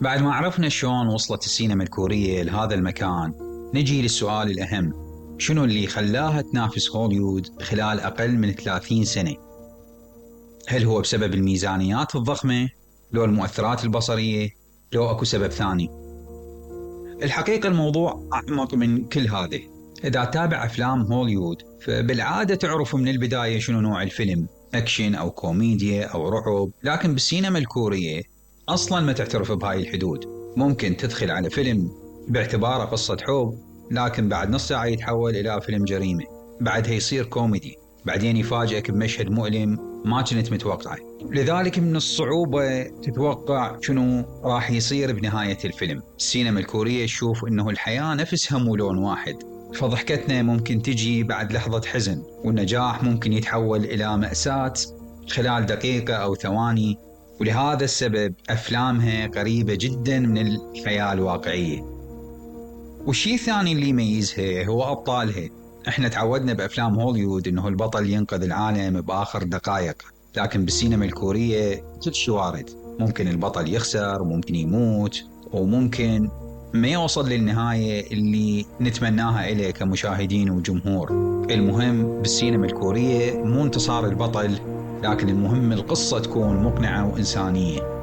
بعد ما عرفنا شلون وصلت السينما الكورية لهذا المكان، نجي للسؤال الأهم: شنو اللي خلاها تنافس هوليوود خلال أقل من 30 سنة؟ هل هو بسبب الميزانيات الضخمة؟ لو المؤثرات البصرية؟ لو أكو سبب ثاني؟ الحقيقة الموضوع أعمق من كل هذا. إذا تابع أفلام هوليوود فبالعادة تعرف من البداية شنو نوع الفيلم، أكشن أو كوميديا أو رعب. لكن بالسينما الكورية أصلاً ما تعترف بهاي الحدود. ممكن تدخل على فيلم باعتباره قصة حب، لكن بعد نص ساعة يتحول إلى فيلم جريمة، بعدها يصير كوميدي، بعدين يفاجئك بمشهد مؤلم ما كنت متوقعه. لذلك من الصعوبة تتوقع شنو راح يصير بنهاية الفيلم. السينما الكورية تشوف إنه الحياة نفسها مو لون واحد، فضحكتنا ممكن تجي بعد لحظة حزن، والنجاح ممكن يتحول إلى مأساة خلال دقيقة أو ثواني. ولهذا السبب أفلامها قريبة جدا من الحياة الواقعية. والشيء الثاني اللي يميزها هو أبطالها. احنا تعودنا بأفلام هوليوود إنه البطل ينقذ العالم بآخر دقائق، لكن بالسينما الكورية كل شيء وارد. ممكن البطل يخسر، وممكن يموت، وممكن ما يوصل للنهاية اللي نتمناها إليه كمشاهدين وجمهور. المهم بالسينما الكورية مو انتصار البطل، لكن المهم القصة تكون مقنعة وإنسانية.